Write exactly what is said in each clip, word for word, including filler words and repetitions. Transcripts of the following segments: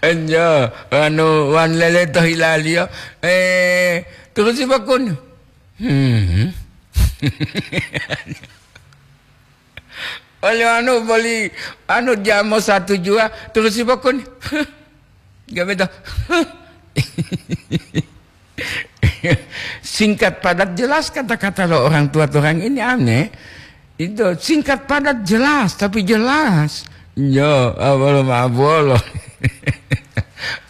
Enjo, wanu, wan lele to hilaliyo. Eh, turusi bakun. Hmm. Oli anu boli anu jamo satu jua, turusi bakun. Gak betul. Singkat padat jelas kata-kata lo orang tua orang ini aneh. Itu singkat padat jelas, tapi jelas. Yo, abolo mabolo.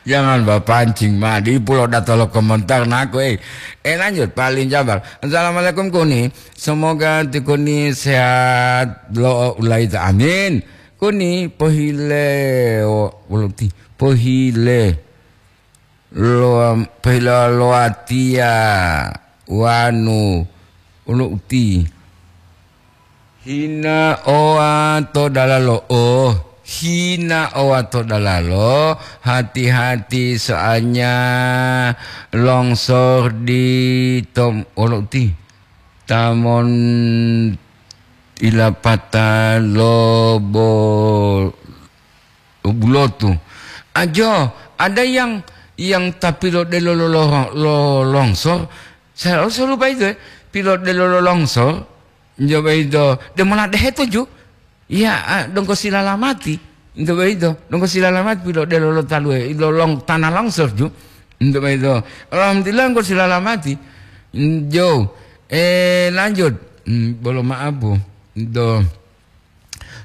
Jangan bapancing ma di pulo datolo komentar naku, eh. Eh, lanjut, paling jabar. Assalamualaikum, Kuni. Semoga ti Kuni sehat lo ulaita. Amin. Kuni pohile, o, ulo ti, pohile. Lo, pohile lo watiya wanu, ulo uti. Hina oa to dalalo, oh, hina oa to dalalo, hati-hati soalnya longsor di tom, olo uti. Tamon ilapata lobo bulotu. Ajo, ada yang, yang tapi lo delo lo, lo, lo longsor. Saya selalu lupa itu, eh. Pilot delo lo longsor. Njo boyito, demola dehe toju. Iya, ah, donggo silalamati. Nto boyito, donggo silalamati pilo delo lo talue, lo long, tanah longsor ju. Nto boyito. Alhamdulillah, donggo silalamati. Njo, eh, lanjut. Hmm, bolo maaf, Bu. Nto.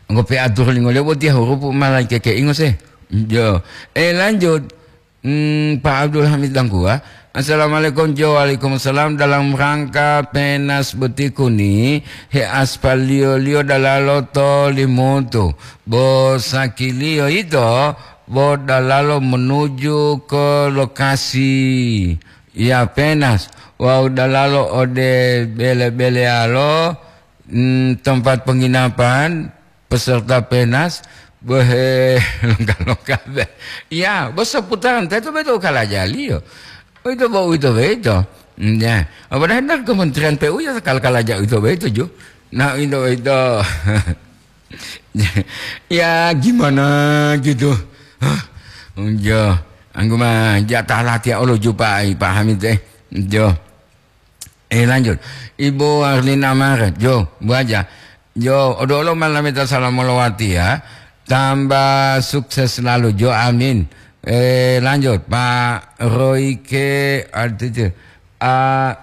Donggo pe atur lingoliyo botiya hurupu malaikeke ingo se. Njo. Eh, lanjut. Hmm, Pak Abdul Hamid Dangkua. Assalamualaikum, Jo. Waalaikumsalam. Dalam rangka penas boti kuni, he aspaliyo-liyo dalalo to Limutu. Bo sakiliyo ito, bo dalalo menuju ke lokasi. Ya, penas. Wawu dalalo ode bele-beleyalo, hmm, tempat penginapan, peserta penas, bohe longga-longga be. Iya, bo seputaran teto beto kalajaliyo. Uwito bo uwito boyito. Mm, ya. Padahal dari Kementerian P U ya kal-, kalaja uwito boyito ju. Nah, uwito boyito. Ya, gimana gitu? Hah? Jo, anggu ma jatah latihan olo jupai, pahami teh. Jo. Eh, lanjut. Ibu Arlina Maret, Jo, Bu Haja. Jo, odo-olo malameta salam molowati ya. Tambah sukses selalu, Jo. Amin. Eh, lanjut. Pak Royke, artinya, ah,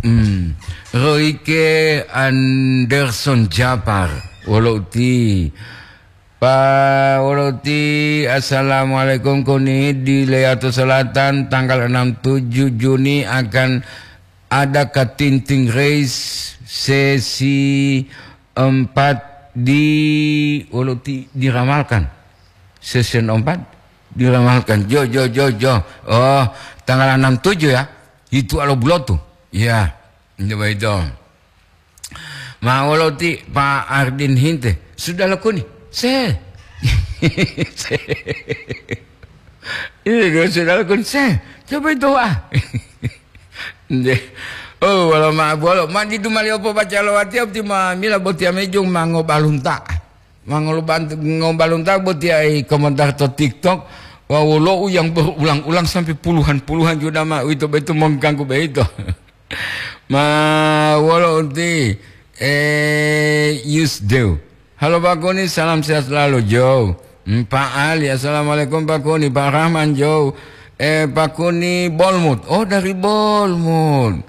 hmm, Royke Anderson Japar, wolo uti. Pak Woloti, assalamualaikum. Kuni di Leato Selatan, tanggal enam tujuh Juni akan ada Katinting Race sesi empat di Woloti diramalkan. Sesi empat diramalkan. Jo, jo, jo, jo. Oh, tanggal enam tujuh ya. Itu alo bulotu. Ya, ini baik dong. Ma wolo ti Pak Ardin hinte, sudah lakoni? Se. Se. Iya, sudah lakoni? Se. Coba itu, ah. Nde. Oh, wala ma bolo. Ma didu mali opo baca lo wati, opti ma mila boti amejong ma ngobalunta. Ma ngolubant-, ngobalunta boti ai komentar to TikTok. Wa wolo u yang berulang-ulang sampai puluhan-puluhan juta ma. Itu betul mengganggu begitu. Ma wolo uti, eh, Yusdew. Halo Pak Kuni, salam sehat selalu, Jo. Hmm, Pak Ali, assalamualaikum Pak Kuni, Pak Rahman, Jo. Eh, Pak Kuni, Bolmut. Oh, dari Bolmut.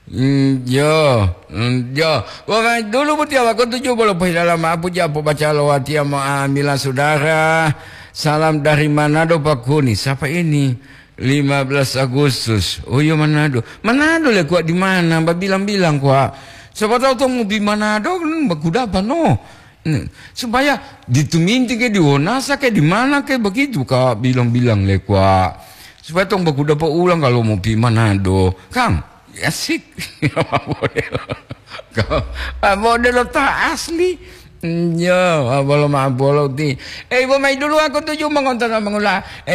Hmm, Jo. Hmm, Jo. Wah, dulu buti awak tujuh puluh pohilala maaf puji apo baca lo watia mo amila saudara. Salam dari Manado Pak Kuni. Siapa ini? Lima belas Agustus. Oh iya, Manado. Manado le kuat di mana? Mbak bilang-bilang kuat. Siapa tahu tuh mau di Manado kan mbak kuda apa no? Hmm. Supaya di Tuminti ke, di Wonasa ke, di mana ke begitu, Kak, bilang-bilang le kuat. Supaya tong mbak kuda apa ulang kalau mau pi Manado. Kang, asik. Apa boleh lo? Kau, apa boleh lo tak asli? Hmm, ya, apa lo mau boleh ti? Eh, ibu mai dulu aku tuju mengontrol mengula.